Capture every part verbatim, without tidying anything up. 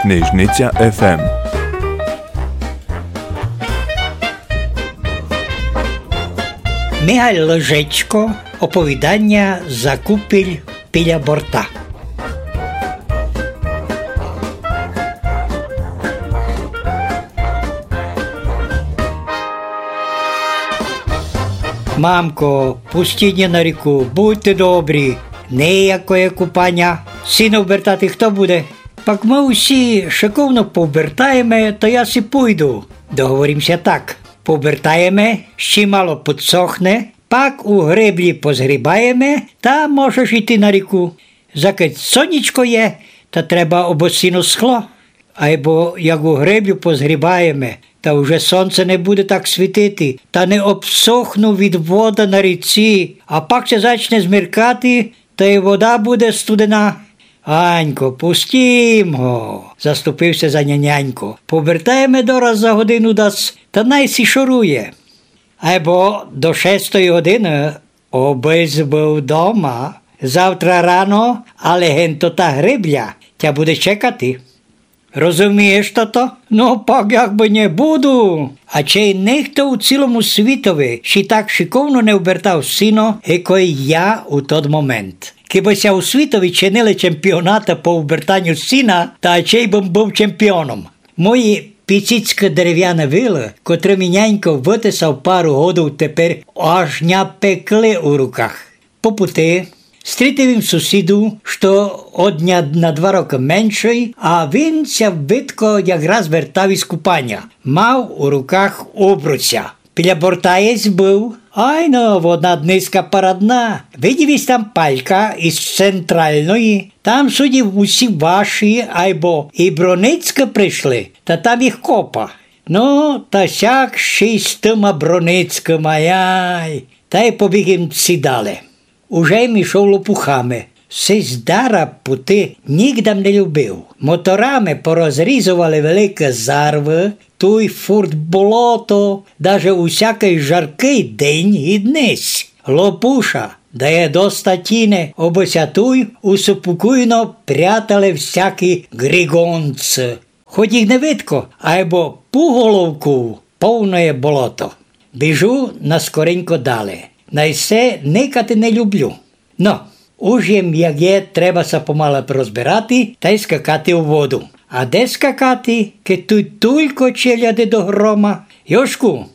Книжниця еф ем. Михаль Лежечко, оповіданя «Закупіль піля борта». Мамко, пустіть ня на ріку, будьте добрі. Ниякоє купаня. Сіно вбертати хто буде? Пак мы усі шыковно повбертаєме, та я си пуйду. Договорім ся так. Повбертаєме, ще мало подсохне, пак у греблі позгрібаєме, та можеш іти на ріку. Закы сонечко є, та треба, обы сіно схло. Айбо як у греблю позгрібаєме, та уже сонце не буде так світити, та не обсохну від вода на ріці, а пак ся зачне змеркати, та й вода буде студена. Анько, пустім го, заступив ся за ня нянько. Повертаєме дораз за годину дас, та най си шорує. Айбо до шестої годины обысь быв дома. Завтра рано, але генто та гребля тя буде чекати. Розумієш тото? Но, пак як бы не буду. А чей нихто у цілому світови ще так шыковно не вбертав сіно, як я у тот момент. Кибы ся у світови чинили чемпіонаты по вбертаню сіна, та чей бым быв чемпіоном. Мої піціцькы деревяны вилы, котрыми нянько вытесав пару годов, теперь аж ня пекли у руках. По пути стрітив им сусіду, што од ня на два рокы меншый, а він ся видко якраз вертав из купаня. Мав у руках обруця. Біля борта єсь быв. Айно, водна днеська парадна. Видів єсь там палька из централної. Там судів усі ваші, айбо и Броницькы пришли, та там їх копа. Но, та сяк ще й з тыма Броницькыма, яй. Та й побіг им си дале. Уже м ішов лопухами. Сись дара пути нїґдам не любив. Моторами порозрізовали великы зарвы, туй фурт болото, даже у сякый жаркый день ги днесь. Лопуша дає доста тіне, обы ся туй успокойно прятали всякі григонци. Хоть їх не видко, айбо пуголовков повноє болото. Біжу наскоренько дале. Най се никати не люблю. Но, уж єм як є, треба ся помалу розбирати тай скакати у воду. А де скакати, кедь туй тулько челяди до грома? Йошку,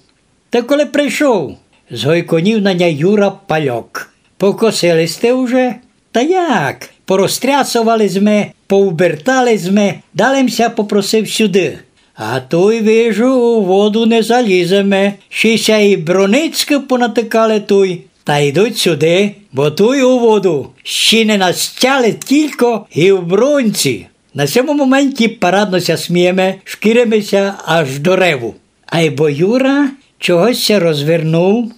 ты коли пришов? Згойконів на ня Юра Пальок. Покосили сьте уже? Та як? Порозтрясовали зме, повбертали зме, дале м ся попросив сюды. А туй, вижу, у воду не заліземе, ще ся и Броницькы понатыкали туй. Та йдуть сюды, бо туй у воду ще не настяли тілько ги в бронці. На сьому моменті парадно ся смієме, шкіриме ся аж до реву. Айбо Юра чогось ся розвернув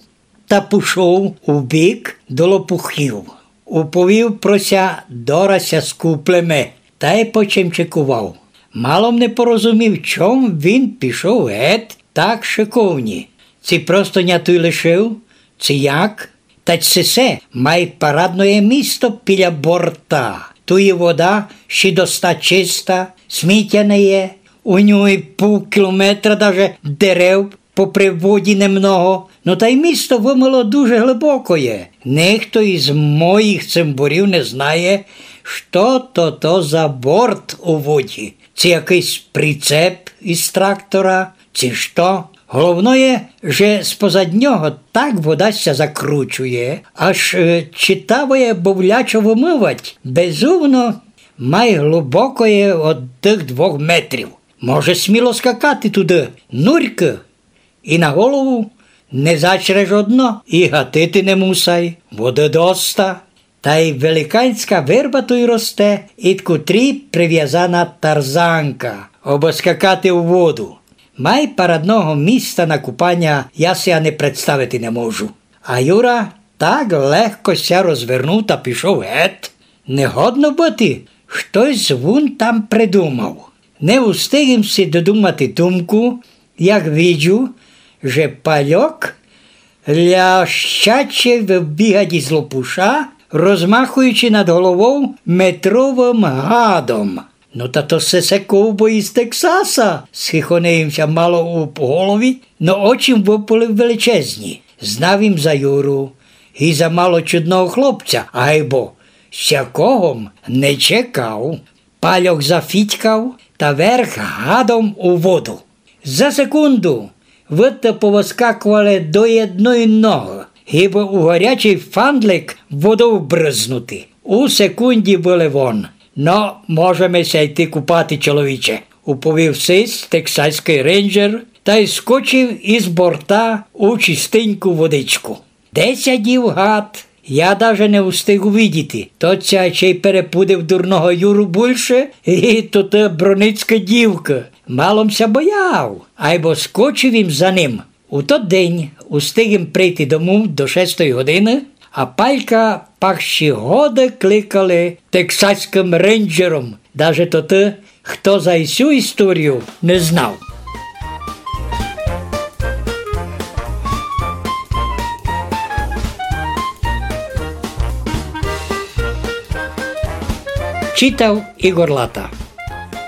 та пушов убік до лопухів. Уповів про ся: дораз ся скуплеме, тай почемчикував. Мало м не порозумів, чом він пішов гет так шыковні. Ци просто ня туй лишив, ци як? Тадь сесе май парадноє місто біля борта. Туй и вода ще доста чиста, сміття не є. У нюй пув кілометра даже дерев попри воді немного. Но тай місто вымыло дуже глибокоє. Нихто из моїх цимборів не знає, што то, то за борт у воді. Ци якыйсь прицеп из трактора, ци што. Головноє, же спозад нього так вода ся закручує, аж, е, читавоє бовлячо вымывать. Безумно, май глубокоє од тых двох метрів. Може сміло скакати туды, нурькы. И на голову не зачреш о дно, и гатити не мусай, воды доста. Тай великанська верба туй росте, ид котрій привязана тарзанка, обы скакати у воду. Май парадного міста на купаня я си ани представити не можу. А Юра так легко ся розвернув та пішов гет. Не годно быти, штось вун там придумав. Не устиг им си додумати думку, як виджу, же Пальок лящаче выбігать из лопуша, розмахуючи над головов метровым гадом. «Но та то сесе ковбой из Тексаса!» — схихонив им ся мало у голові, но очі выпали величезні. Знав им за Юру и за мало чудного хлопця, айбо сякого м не чекав. Пальок зафітькав та верг гадом у воду. За секунду выдта повыскакували до єдної ногы, гибы у горячый фандлик водов брызнути. У секунді были вон. «Но, можеме ся йти купати, чоловіче», — уповів сись тексаськый рейнджер тай скочив из борта у чистеньку водичку. Де ся дів гад, я даже не встиг увидіти. Тот ся ще й перепудив дурного Юру бульше, и тота броницька дівка. Мало м ся бояв, айбо скочив им за ним. У тот день устиг им прийти дому до шестої годины, а Палька пак ще годы кликали тексаськым рейнджером. Даже тоты, хто за сю історію не знав. Читав Ігор Лата.